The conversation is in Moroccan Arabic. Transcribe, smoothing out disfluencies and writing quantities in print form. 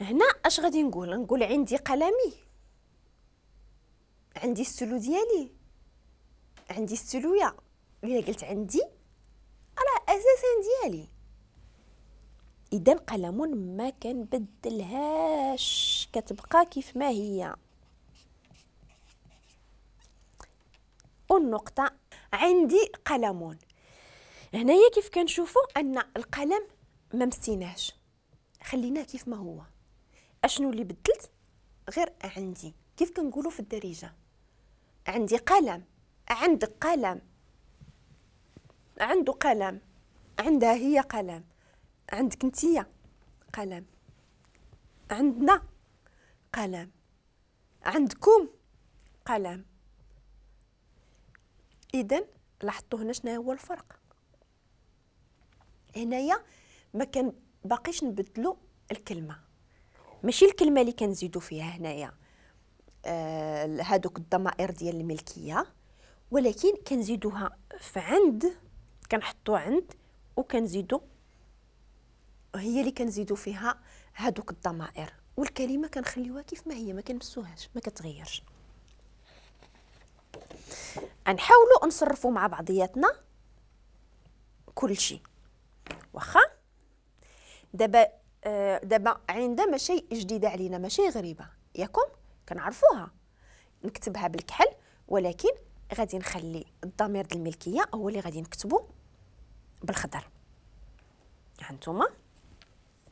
هنا اش غادي نقول؟ نقول عندي قلمي، عندي ستيلو ديالي، عندي ستيلويا. الا قلت عندي راه اساسا ديالي. اذا قلم ما كنبدلهاش، كتبقى كيف ما هي. والنقطة عندي قلم. هنايا كيف كنشوفوا ان القلم ما مسيناش، خليناه كيف ما هو. اشنو اللي بدلت؟ غير عندي. كيف كنقولوا في الدارجة عندي قلم، عندك قلم، عنده قلم، عندها هي قلم، عندك انتيا قلم، عندنا قلم، عندكم قلم. اذا لاحظتوا هنا شنو هو الفرق؟ هنايا ما كان باقيش نبدلو الكلمة، ماشي الكلمة اللي كنزيدو فيها هنايا هادوك الضمائر ديال الملكية، ولكن كنزيدوها في عند، كنحطو عند وكنزيدو هي اللي كنزيدو فيها هادوك الضمائر، والكلمة كنخليوها كيف ما هي، ما كنمسوهاش، ما كتغيرش. نحاولوا نصرفوا مع بعضياتنا كل شيء. واخا دابا دابا عندها ماشي جديدة علينا، ماشي غريبة، ياكم كنعرفوها. نكتبها بالكحل، ولكن غادي نخلي الضمير ديال الملكية هو اللي غادي نكتبو بالخضر. هانتوما